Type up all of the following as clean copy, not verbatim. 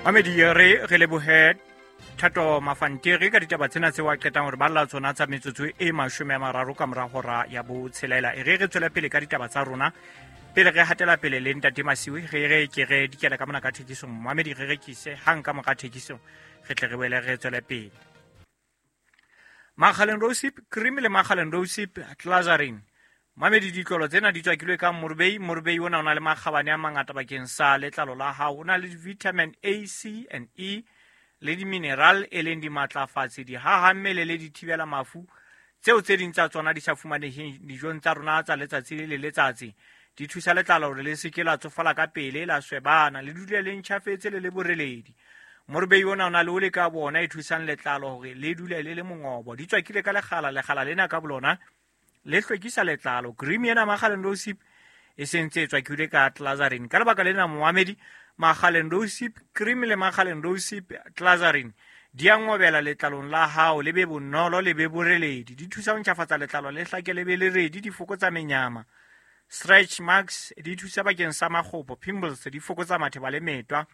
Mamedi, re lebohe Thato Mafantiri ka ditaba tsena tseo a qetang hore balla tsona tsa metsotso e 30 ka mora hora ya 6. E re tswele pele ka ditaba tsa rona. Pele re hatela pele le Ntate Masiu, re ke re dikela ka mona ka thekisong. Mamedi, re rekise hang ka mora thekisong, re tle re boele re tswele pele. Makgaleng Rosip cream le Makgaleng Rosip Glazarin. Mamedi, ditlolo tsena di tswakilwe ka morubei. Morubei ona o na le makgabane a mangata bakeng sa letlalo la hao. O na le vitamin A, C and E le di-mineral e leng dimatlafatsi, dihaha mmele le dithibela mafu tseo tse ding tsa tsona di sa fumaneheng dijong tsa rona tsa letsatsi le letsatsi. Di thusa letlalo hore le se ke la tsofala ka pele, la swebana, le dule le ntjhafetse le le boreledi. Morubei ona o na le ole ka bona e thusang letlalo hore le dule le le mongobo. Di tswakile ka lekgala, lekgala lena ka bolona le hlwekisa letlalo. Cream ena Makgaleng Rosip e sentse e tswakilwe ka Glazarin. Ka lebaka lena moamedi, Makgaleng Rosip cream le Makgaleng Rosip Glazarin di a ngobela letlalong la hao, le be bonolo, le be boreledi. Di thusa ho ntjhafatsa letlalo, le hlake le be le redi, di fokotsa menyama. Stretch marks di thusa bakeng sa makgopo, pimples di fokotsa matheba le metwa.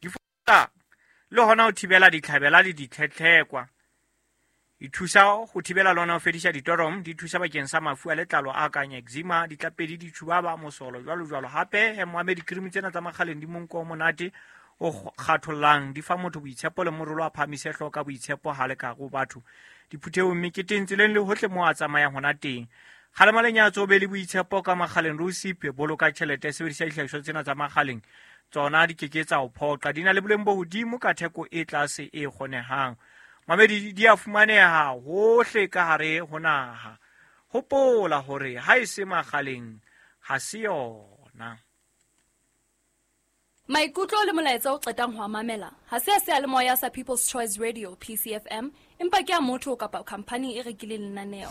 Di fokotsa le hona ho thibela ditlhabela le ditlhetlhekwa. Di thusa ho thibela le hona ho fedisa ditorom, di thusa bakeng sa mafu a letlalo a kang eczema, ditlapedi, ditjhubaba, mosolo, jwalo jwalo. Hape moamedi, cream tsena tsa Makgaleng di monko o monate o kgathollang, di fa motho boitshepo le morolo a phahamise hlooho ka boitshepo ha le ka ho batho diphuthehong, meketeng, tseleng le hohle moo a tsamayang hona teng. Kgalema lenyatso, o be le boitshepo ka Makgaleng Rosip. Boloka tjhelete, sebedisa dihlahiswa tsena tsa Makgaleng, tsona di keke tsa o phoqa. Di na le boleng bo hodimo ka theko e tlase e kgonehang. Mamedi, di a fumaneha hohle ka hare ho naha. Hopola hore ha e se Makgaleng ha se yona. Maikutlo le molaetsa o qetang ho a mamela ha se a seyalemoya sa People's Choice Radio PCFM, empa ke a motho kapa khampani e rekileng lenaneo.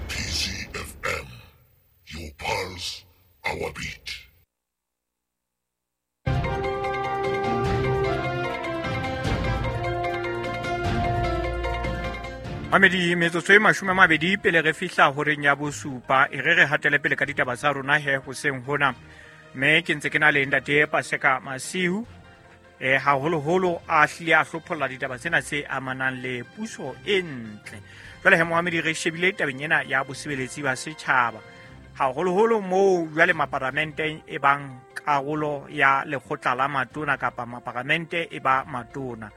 PCFM, your pulse, our beat. Mamedi, metsotso e 20 pele re fihla horeng ya 7, e re hatele pele ka ditaba tsa rona he hoseng hona. Mme ke ntse ke na le Ntate Paseka Masiu, haholoholo a hlile a hlopholla ditaba tsena tse amanang le puso e ntle. Jwale he moamedi, re shebile tabeng ena ya bosebeletsi ba setjhaba, haholoholo moo jwale maparamente e bang karolo ya lekgotla la matona kapa maparamente e ba matona.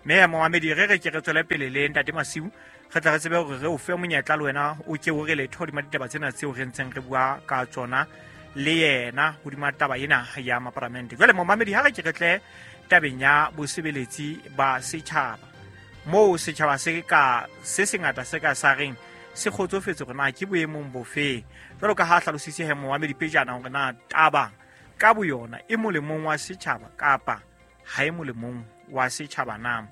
Mme moamedi, re ke re tswele pele le Ntate Masiu, re tla re tsebe hore re o fe monyetla le wena o ke o re letho hodima ditaba tsena tseo re ntseng re bua ka tsona le yena hodima taba ena ya maparamente. Jwale momamedi, ha re ke re tle tabeng ya bosebeletsi ba setjhaba, moo setjhaba se ka se sengata se ka sa reng se kgotsofetse hore na ke boemong bofe. Jwalo ka ha hlalositse he momamedi pejana hore na taba ka boyona e molemong wa setjhaba kapa ha e molemong wa setjhaba na.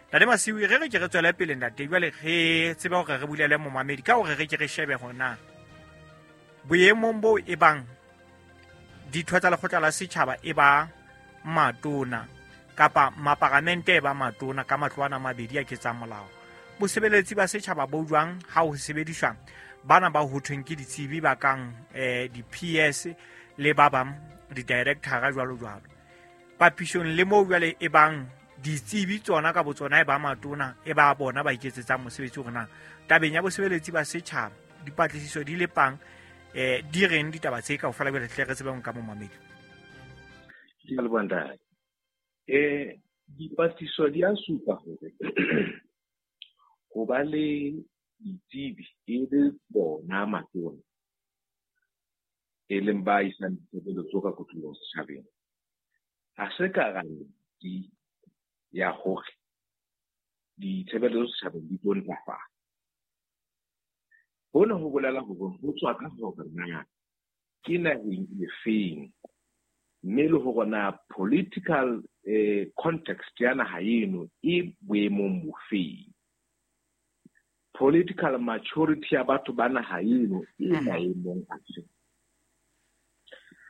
Ntate Masiu, re ke re tswele pele ntate, jwale re tsebe hore re bulele momamedi ka hore re ke re shebe hore na boemong bo e bang ditho tsa lekgotla la setjhaba e ba matona kapa maparamente e ba matona ka matlo ana mabedi a ketsang molao, bosebeletsi ba setjhaba bo jwang ha ho sebediswa bana ba ho thweng ke ditsebi ba kang di-PS le ba bang di-director jwalo jwalo, papisong le moo jwale e bang ditsebi tsona ka botsona e ba matona e ba bona ba iketsetsang mosebetsi hore na tabeng ya bosebeletsi ba setjhaba dipatlisiso di lepang di reng ditaba tse kaofela jwale tle re tsebeng ka momamedi. Ke a leboha ntate. Dipatlisiso di a supa hore ho ba le ditsebi e le bona matona e leng ba isang ditshebeletso ka kotloloho setjhabeng, ha se garanti ya hore ditshebeletso setjhabeng di tlo ntlafala. Hona ho bolela hore ho tswa ka hore na ke naheng efeng, mme le hore na political context ya naha eno e boemong bofeng. Political maturity ya batho ba naha eno e maemong afe.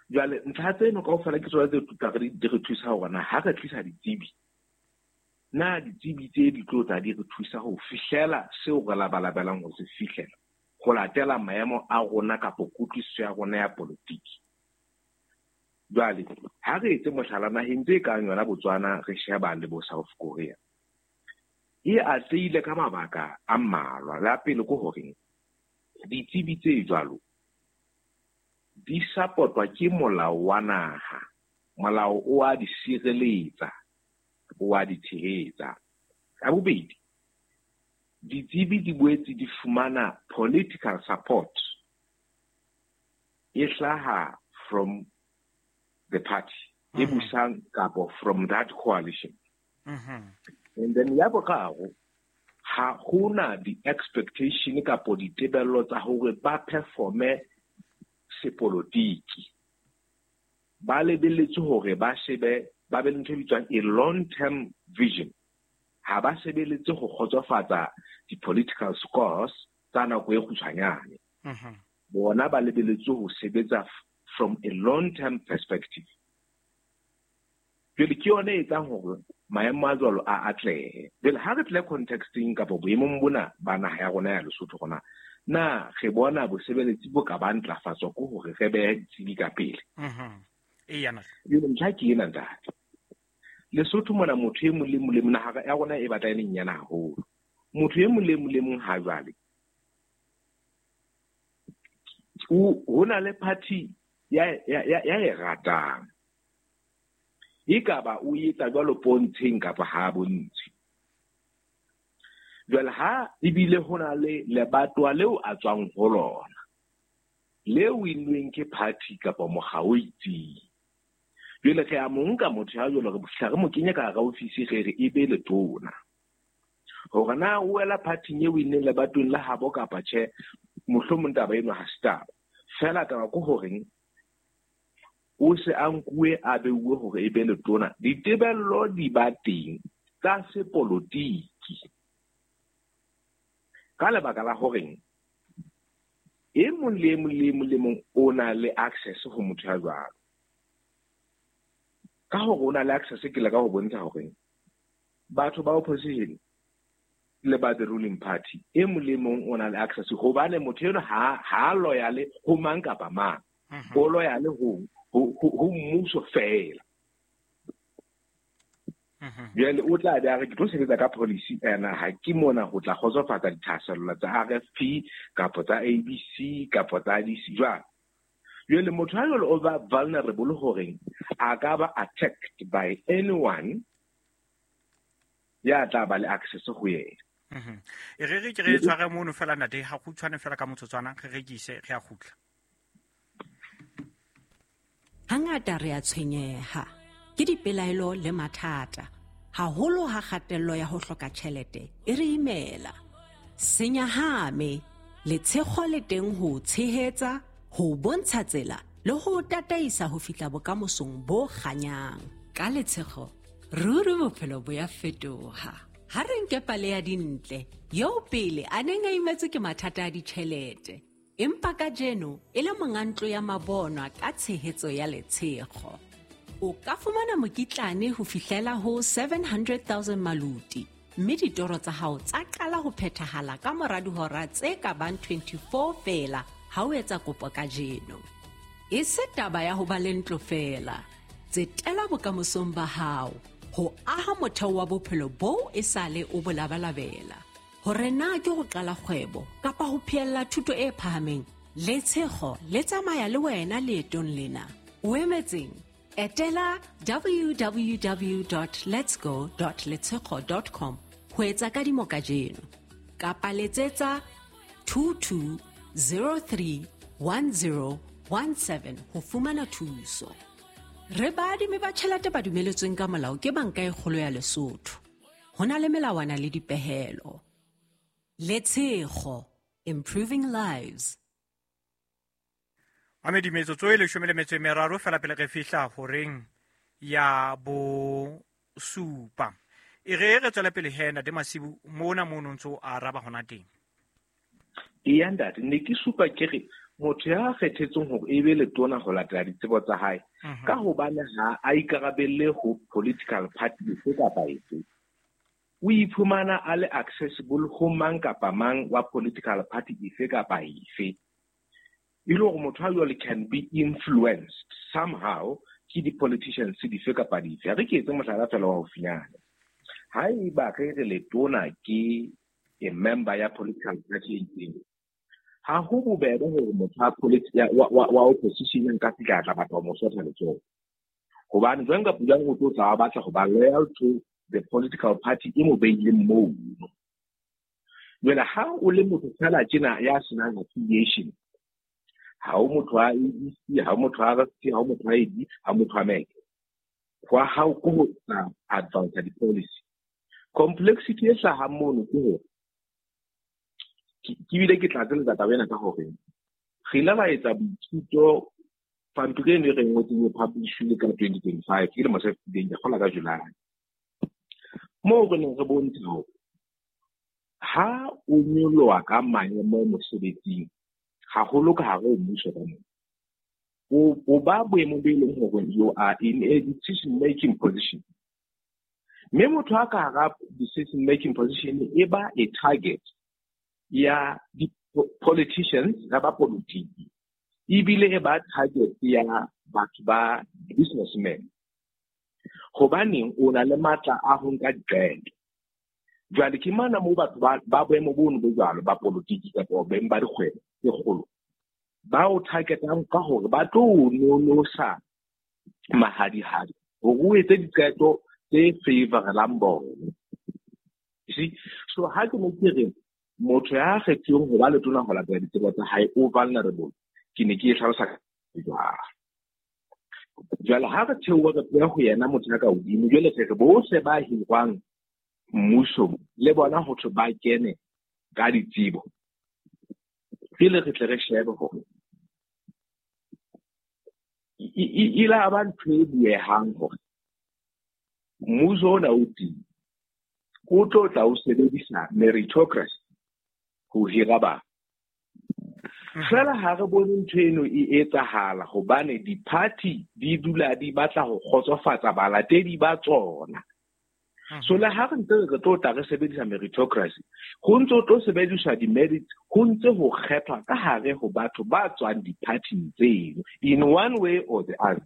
Jwale ntlha tseno kaofela ke tsona tse tla re di re thusa hore na ha re tlisa ditsebi, na ditsebi tse di tlo tla di re thusa ho fihlela seo re labalabelang ho se fihlela, ho latela maemo a rona kapa kutlwisiso ya rona ya politiki. Jwale ha re etse mohlala naheng tse kang yona Botswana, re sheba le bo South Korea, e atlehile ka mabaka a mmalwa. La pele ke hore ditsebi tse jwalo di support-wa ke molao wa naha. Molao o a di sireletsa, o a di tshehetsa. Ka bobedi, ditsebi di boetse di fumana political support e hlaha from the party e busang kapo from that coalition. And then ya boraro, ha hona di-expectation kapo ditebello tsa hore ba performe sepolotiki. Ba lebelletse hore ba shebe, ba be le ntho e bitswang a long term vision. Ha ba sebeletse ho kgotsofatsa di-political scores tsa nako e kgutshwanyane. Bona ba lebelletse ho sebetsa from a long term perspective. Jwale ke yona e etsang hore maemo a jwalo a atlehe. Jwale ha re tle contexteng kapa boemong bona ba naha ya rona ya Lesotho rona, na re bona bosebeletsi bo ka ba ntlafatswa ke hore re behe ditsebi ka pele. Jwale ntlha ke ena, ntate. Lesotho mona motho e mong le mong le mong, naha ya rona e batla e le nyane haholo. Motho e mong le mong le mong ha jwale ho na le party ya e ratang. Ekaba o etsa jwalo pontsheng kapa ha bontshe. Jwale ha ebile ho na le lebatowa leo a tswang ho lona, le win-weng ke party kapa mokga o itseng. Jwale re a mo nka motho ya jwalo, re fihla re mo kenye ka hara ofisi, re re e be letona. Hore na o wela party-ing e win-neng lebatoweng la habo kapa tjhe, mohlomong taba eno ha se taba. Feela taba ke horeng o se a nkuwe a beuwe hore e be letona. Ditebello di ba teng tsa sepolotiki. Ka lebaka la horeng e mong le e mong le e mong le mong o na le access ho motho ya jwalo. Ka hore o na le access, ke leka ho bontsha hore batho ba opposition le ba the ruling party, e mong le mong o na le access, hobane motho eno ha loyale ho mang kapa mang. O loyale ho mmuso feela. Jwale o tla be a re ke tlo sebetsa ka policy ena, ha ke mona ho tla kgotsofatsa dithahasello tsa RFP kapa tsa ABC kapa tsa DC jwalo. Jwale motho ha jwale o ba vulnerable horeng a ka ba attacked by anyone ya tla ba le access ho yena. E re ke re tshware mono fela ntate, ha kgutshwane fela ka motsotswana, re rekise, re a kgutla. Hangata re a tshwenyeha ke dipelaelo le mathata, haholo ha kgatello ya ho hloka tjhelete e re imela. Senyahame, letshego le teng ho tshehetsa, ho bontsha tsela le ho tataisa ho fihla bokamosong bo kganyang. Ka letshego, ruri bophelo bo ya fetoha. Ha re nke pale ya Dintle, eo pele a neng a imetswe ke mathata a ditjhelete, empa kajeno e le monga ntlo ya mabonwa ka tshehetso ya letshego. O ka fumana mokitlane ho fihlela ho 700,000 maluti, mme ditoro tsa hao tsa qala ho phethahala ka mora dihora tse ka bang 24 feela ha o etsa kopo kajeno. E se taba ya ho ba le ntlo feela, tsetela bokamosong ba hao, ho aha motheo wa bophelo boo e sale o bo labalabela. Hore na ke ho qala kgwebo kapa ho phehella thuto e phahameng, letshego le tsamaya le wena leetong lena. O emetseng? Etela www.letsgo.letshego.com ho etsa kadimo kajeno, kapa letsetsa 22031017 ho fumana thuso. Re baadimi ba tjhelete ba dumeletsweng ka molao ke Banka e Kgolo ya Lesotho. Ho na le melawana le dipehelo. Letshego, improving lives. Mamedi, metsotso e 13 fela pele re fihla horeng ya 7. E re re tswele pele he ntate Masibu, mona mono ntso a araba hona teng. Eya ntate, ne ke supa ke re motho ya kgethetsweng hore e be letona ho latela ditsebo tsa hae, ka hobane ha a ikarabelle ho political party efe kapa efe, o iphumana a le accessible ho mang kapa mang wa political party efe kapa efe. E le hore motho a jwale can be influenced somehow ke di-politicians dife kapa dife. Ha re ke etse mohlala fela wa haufinyana. Haeba re re letona ke a member ya political party e itseng, ha ho bobebe hore motho wa opposition nka fihla a tla batla ho mo sotha letsoho. Hobane jwang kapa jwang o tlo tla batla ho ba loyal to the political party e mo beileng mono. Jwale ha o le motho fela tjena ya senang affiliation, ha o motho wa ABC, ha o motho wa RC, ha o motho wa AD, ha o motho wa MEC, hwa hao ke ho tla advance di-policy. Complexity e hlahang mono ke hore ke bile ke tlatseletsa taba ena ka hore re ile ra etsa boithuto pampiri eno e re ngotseng e publish-ile ka 2025, ke lemo se fetileng, ke kgola ka July. Moo re neng re bontsha hore ha o nyoloha ka maemo mosebetsing, haholo ka hare ho mmuso ka mona, o ba boemong bo e leng hore you are in a decision making position. Mme motho a ka hara decision making position e ba a target ya di-politicians, ya ba politiki, ebile e ba target ya batho ba businessmen. Hobaneng o na le matla a ho nka diqeto. Jwale ke mana moo batho ba boemo bono bo jwalo ba politiki kapa beng ba dikgwebo tse kgolo ba o targetang ka hore ba tlo o nonosa mahadihadi hore o etse diqeto tse favorelang bona. You see? So ha ke ne ke re motho ya kgethuweng ho ba letona ho latela ditsebo tsa hae o vulnerable, ke ne ke e hlalosa jwalo. Jwale ha re theoha re tloha ho yena motho ya ka hodimo, jwale re re bohle ba hirwang mmusong le bona ho thwe ba kene ka ditsebo, pele re tle re shebe hore e la ba ntho e buehang hore mmuso ona o teng o tlo tla o sebedisa meritocracy ho hira batho. Fela ha re bone ntho eno e etsahala hobane di-party di dula di batla ho kgotsofatsa balatedi ba tsona. So le ha re ntse re tlo tla re sebedisa meritocracy, ho ntse ho tlo sebediswa di-merits, ho ntse ho kgethwa ka hare ho batho ba tswang di-party-ing tseno in one way or the other.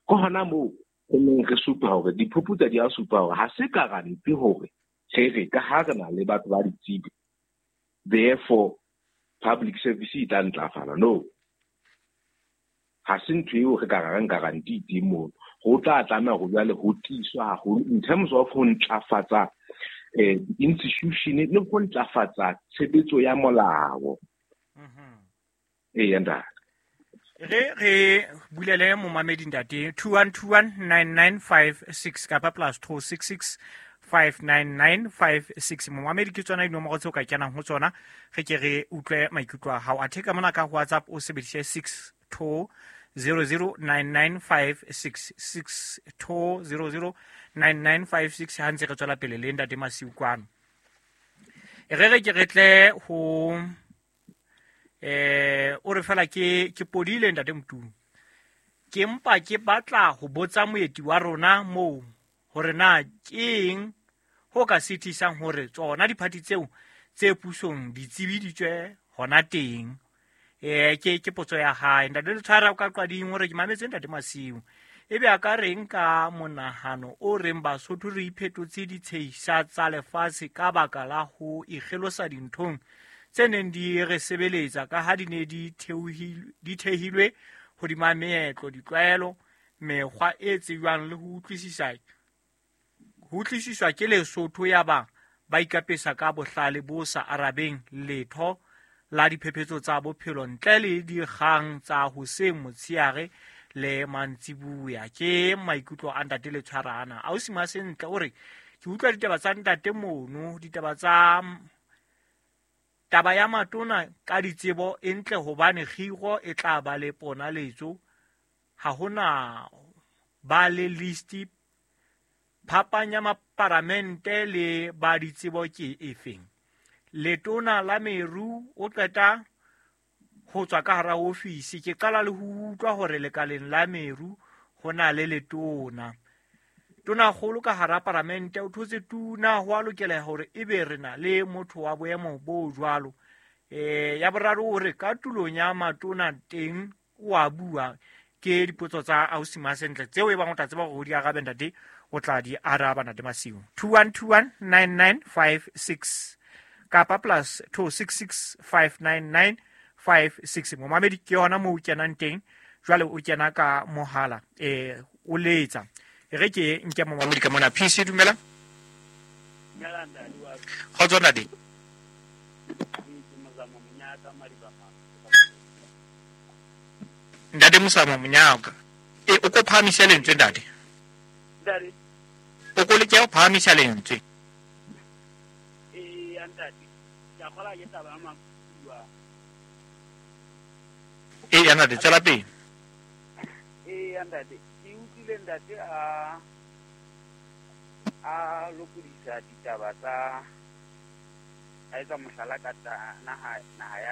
Ke hona moo re neng re supa hore diphuputso di a supa hore ha se guarantee hore re re ka ha re na le batho ba ditsebi, therefore public service e tla ntlafala. No, ha se ntho eo re ka reng guarantee teng mono. Ho tla tlameha hore jwale ho tiiswa haholo in terms of ho ntlafatsa institution le ho ntlafatsa tshebetso ya molao. Eya ntate. Re bulele momamedi ntate 21219956 kapa +266 59956. Momamedi ke tsona dinomoro tseo ka kenang ho tsona, re ke re utlwe maikutlo a hao. Athe ka mona ka WhatsApp o sebedise 62009956, 62009956 ha ntse re tswela pele le ntate Masiu kwano. Re re ke re tle ho o re fela ke podile ntate Motumi. Ke mpa ke batla ho botsa moeti wa rona moo hore na keng ho ka sitisang hore tsona diphathi tseo tse pusong di tsebiditswe hona teng. Ke potso ya hae. Ntate Letshwara o ka qading hore ke mametse ntate Masiu. Ebe a ka reng ka monahano o reng Basotho re iphetotse ditshehisa tsa lefatshe ka baka la ho ikgelosa dinthong tse neng di re sebeletsa ka ha di ne di thehilwe hodima meetlo, ditlwaelo, mekgwa e tsejwang le ho utlwisiswa ke Lesotho ya ba ba ikapesa ka bohlale bo sa arabeng letho la diphephetso tsa bophelo ntle le dikgang tsa hoseng, motsheare le mantsibuya. Ke maikutlo a ntate Letshwara ana. Ausi Masentle o re ke utlwa ditaba tsa ntate mono, ditaba tsa taba ya matona ka ditsebo e ntle hobane kgiro e tla ba le ponaletso, ha hona ba le list phapang ya maparamente le ba ditsebo ke efeng. Letona la meru o qeta ho tswa ka hara ofisi, ke qala le ho utlwa hore lekaleng la meru ho na le letona. Tonakgolo ka hara paramente o thotse tuna, ho a lokela hore ebe re na le motho wa boemo bo jwalo. Ya boraro o re ka tulong ya matona teng o a bua. Ke dipotso tsa ausi Masentle tseo e bang o tla tseba hore o di arabe ntate, o tla di araba ntate Masiu. 21219956 kapa plus 26659956. Momamedi, ke yona moo o kenang teng jwale, o kena ka mohala, o letsa. E re ke nke momamedi ka mona. PC, dumela. Kgotso ntate. Ntate Mosamo Monyaka, e o ko phahamisa lentswe ntate. O ko leke ho phahamisa lentswe. E ya ntate, tswela pele. Ee ntate, ke utlwile ntate a lokodisa ditaba tsa a etsa mohlala ka naha yane.